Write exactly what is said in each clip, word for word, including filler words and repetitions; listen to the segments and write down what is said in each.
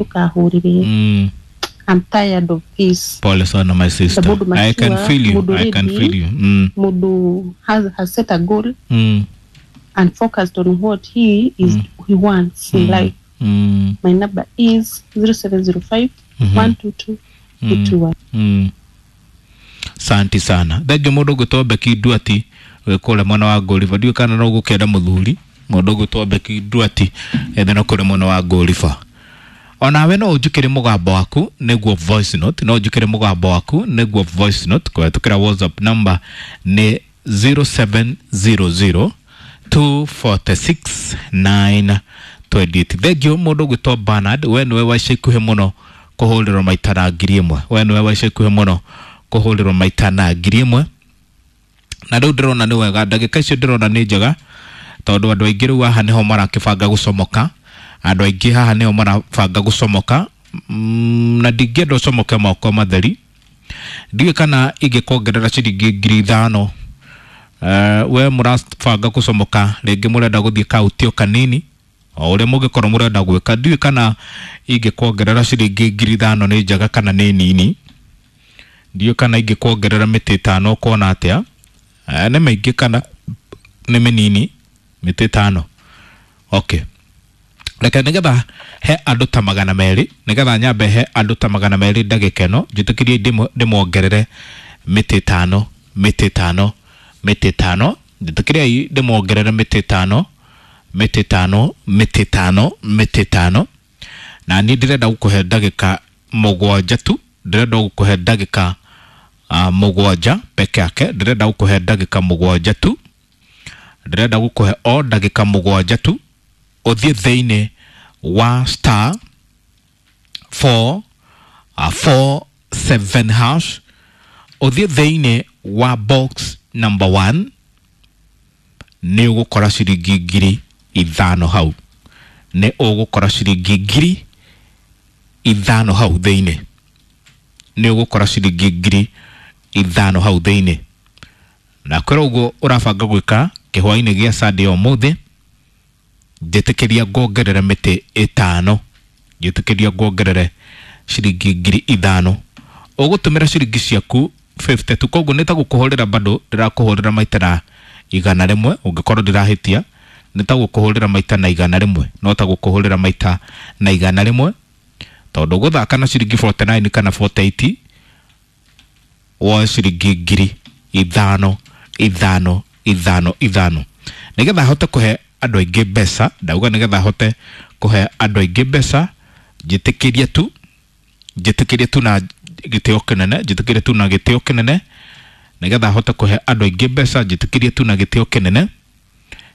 Ndũkahũrĩre. Mm. I'm tired of this. Pole sana, my sister. Mũndũ I can mature, feel you. mũndũ I can ready. feel you. Mm. Mũndũ has, has set a goal Mm. and focused on what he is he wants in life. Mm. My number is zero seven zero five Mhm. one two two eight two one. Mm. Santi sana, thengio. Mũndũ ũgwĩtwo Beki Nduati wĩ kũrĩa mwena wa Ngũriba, ndiũĩ kana no gũkĩenda mũthuri. Mũndũ ũgwĩtwo Beki Nduati ethena kũrĩa mwena wa Ngũriba, onawe no ũnjũkĩre mũgambo waku nĩguo voice note, no ũnjũkĩre mũgambo waku nĩguo voice note kũhetũkĩra WhatsApp number nĩ zero seven zero zero two four six nine two eight. Thengio. Mũndũ ũgwĩtwo Bernard, we nĩwe wa ica ikuhĩ mũno kũhũrĩrwo maita na ngiri ĩmwe. We nĩwe wa ica ikuhĩ mũno kũhũrĩrwo maita na ngiri ĩmwe. Na rĩu ndĩrona nĩ wega, ndagĩka icio ndĩrona nĩ njega, tondũ andũ aingĩ rĩu haha nĩho marakĩbanga gũcomoka. Andũ aingĩ haha nĩho marabanga gũcomoka. mm, na ndingĩenda ũcomoke moko matheri. Ndiũĩ kana ingĩkongerera ciringi ngiri ithano. Uh, we mũrabanga gũcomoka, rĩngĩ mũrenda gũthiĩ kautio kanini, o ũrĩa mũngĩkorwo mũrenda gwĩka, ndiũĩ kana ingĩkuongerera ciringi ngiri ithano nĩ njega kana nĩ nini. Ndiũĩ kana ingĩkuongerera mĩtĩ ĩtano, ũkuona atĩa? Eh, nĩ mĩingĩ kana nĩ mĩnini mĩtĩ ĩtano? Okay, reke nĩgetha he andũ ta magana merĩ, nĩgetha nyambe he andũ ta magana merĩ ndagĩka ĩno, njĩtĩkĩrie ndĩmo- ndĩmongerere mĩtĩ ĩtano, mĩtĩ ĩtano, mĩtĩ ĩtano. Njĩtĩkĩriai ndĩmongerere mĩtĩ ĩtano, mĩtĩ ĩtano, mĩtĩ ĩtano, mĩtĩ ĩtano. Na niĩ ndĩrenda gũkũhe ndagĩka mũgwanja tu, ndĩrenda gũkũhe ndagĩka uh, mũgwanja peke yake. Ndĩrenda gũkũhe ndagĩka mũgwanja tu, ndĩrenda gũkũhe o ndagĩka mũgwanja tu, ũthiĩ thĩinĩ wa star four uh, four seven hash, ũthiĩ thĩinĩ wa box number one, nĩ ũgũkora ciringi ngiri ithano hau. Nĩ ũgũkora ciringi ngiri ithano hau thĩinĩ. Nĩ ũgũkora ciringi ngiri ithano hau thĩinĩ. Na kwĩra ũguo ũrabanga gwĩka kĩhwainĩ gĩa Sunday ũmũthĩ, njĩtĩkĩria nguongerere mĩtĩ ĩtano, njĩtĩkĩria nguongerere ciringi ngiri ithano. Ũgũtũmĩra ciringi ciaku fifty tu, koguo nĩ ta gũkũhũrĩra, bado ndĩrakũhũrĩra maita na igana rĩmwe. Ũngĩkorwo ndĩrahĩtia, nĩ ta gũkũhũrĩra maita na igana rĩmwe, no ta gũkũhũrĩra maita na igana rĩmwe, tondũ gũthaka na ciringi forty-nine kana forty-eight woe ciringi ngiri ithano, ithano, ithano, ithano. Nĩgetha hote kũhe andũ aingĩ mbeca, ndauga nĩgetha hote kũhe andũ aingĩ mbeca, njĩtĩkĩrie tu, njĩtĩkĩrie tu na gĩtĩo kĩnene, njĩtĩkĩrie tu na gĩtĩo kĩnene, nĩgetha hote kũhe andũ aingĩ mbeca, njĩtĩkĩrie tu na gĩtĩo kĩnene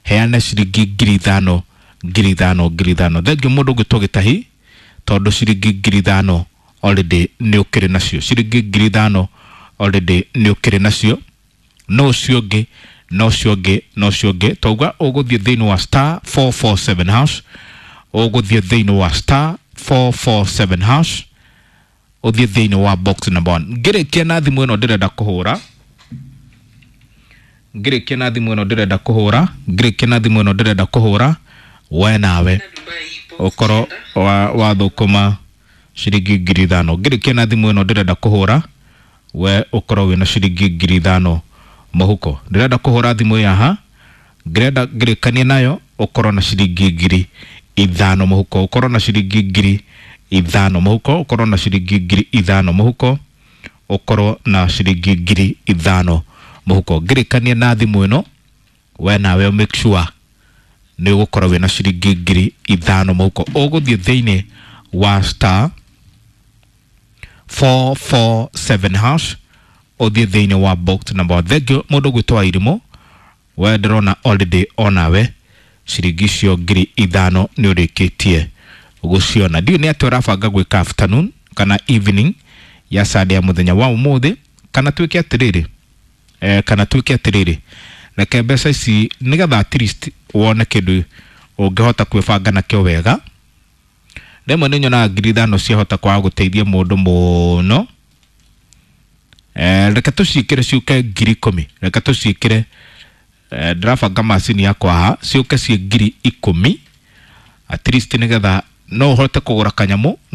heane ciringi ngiri ithano, ngiri ithano, ngiri ithano. Thengio, mũndũ ũngĩtwo Gĩtahi, tondũ ciringi ngiri ithano already nĩ ũkĩrĩ nacio. Ciringi ngiri ithano already nĩ ũkĩrĩ nacio. No ũcio ũngĩ, no ũcio ũngĩ, no ũcio ũngĩ, twauga ũgũthiĩ thĩinĩ wa star four four seven hash, ũgũthiĩ thĩinĩ wa star four four seven hash, ũthiĩ thĩinĩ wa box number one. Ngĩrĩkia na thimũ ĩno ndĩrenda kũhũra, ngĩrĩkia na thimũ ĩno ndĩrenda kũhũra, ngĩrĩkia na thimũ ĩno ndĩrenda kũhũra, we nawe ũkorwo wa wathũkũma ciringi ngiri ithano. Ngĩrĩkia na thimũ ĩno ndĩrenda kũhũra, we ũkorwo wĩna ciringi ngiri ithano mũhuko. Ndĩrenda kũhũra thimũ yaha, ngĩrenda ngĩrĩkania nayo ũkorwo na ciringi ngiri ithano mũhuko, ũkorwo na ciringi ngiri ithano mũhuko, ũkorwo na ciringi ngiri ithano mũhuko, ũkorwo na ciringi ngiri ithano mũhuko. Ngĩrĩkania na thimũ ĩno, we nawe make sure nĩ ũgũkorwo wĩna ciringi ngiri ithano mũhuko. Ũgũthiĩ thĩinĩ wa star four four seven hash, ũthiĩ thĩinĩ wa box number one. Thank you, mũndũ ũgwĩtwo Wairimũ. We ndĩrona already onawe ciringi icio ngiri ithano nĩ ũrĩkĩtie gũciona. Ndiũĩ nĩ atĩa ũrabanga gwĩka afternoon kana evening ya Sunday ya mũthenya wa ũmũthĩ. Kana tuĩke atĩrĩrĩ, eh, kana tuĩke atĩrĩrĩ, reke mbeca ici nĩgetha at least wone kĩndũ ũngĩhota kwĩbanga nakĩo wega. Rĩmwe nĩ nyonaga ngiri ithano ciahota kwaga gũteithia mũndũ mũno. eh, reke tũciĩkĩre ciũke ngiri ikũmi. Reke tũciĩkĩre, eh, ndĩrabanga macini yakwa haha, ciũke ciĩ ngiri ikũmi at least, nĩgetha no ũhote kũgũra kanyamũ.